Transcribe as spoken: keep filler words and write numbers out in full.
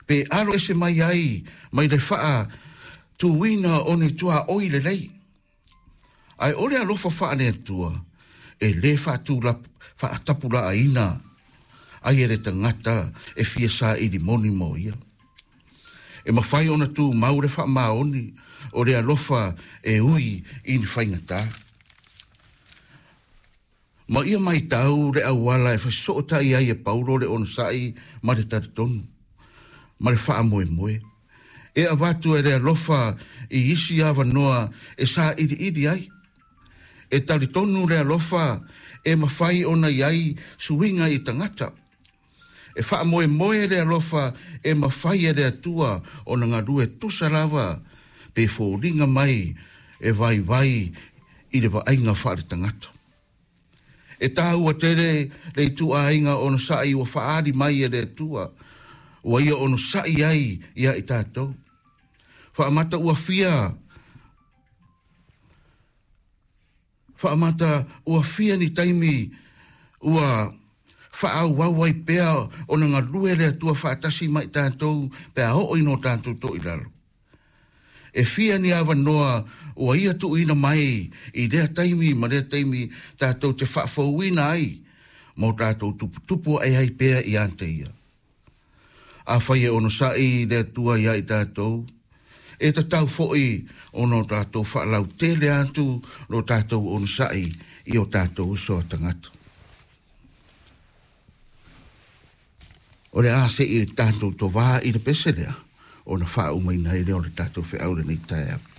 Pe alo ese mai ai mai le faatuina o ni tuaoi lelei. Ae o le alofa faale-Atua e lē faatapulaaina ai e le tagata e fia saili moni mo ia. E mafai ona tumau le faamaoni o le alofa e ui i ni faigata. Ma ia maitau le auala e fesootai ai e Paulo le onosai ma le talitonu ma le faamoemoe. E avatu e le alofa i isi avanoa e sailiili ai. E talitonu le alofa e mafai ona i ai suiga i tagata. E faamoemoe le alofa e mafai e le Atua ona galue tusa lava pe foliga mai e vaivai i le vaaiga faaletagata. E taua tele le ituaiga onosai ua faaali mai e le Atua, ua ia onosai ai ia i tatou. Faamata ua fia Faamata ua fia ni taimi ua faaauau ai pea ona galue le Atua faatasi ma i tatou pe a oo ina o tatou toilalo. E fia ni avanoa ua ia tuuina mai i lea taimi ma lea taimi tatou te faafouina ai ma o tatou tuputupu ae ai pea ia te ia. Afai e onosai le Atua ia i tatou, e tatau foi ona o tatou faalautele atu lo tatou onosai i o tatou uso a tagata. O le a se i tatou tovā i le pese lea, ona faaumaina ai lea o le tatou feau lenei taeao.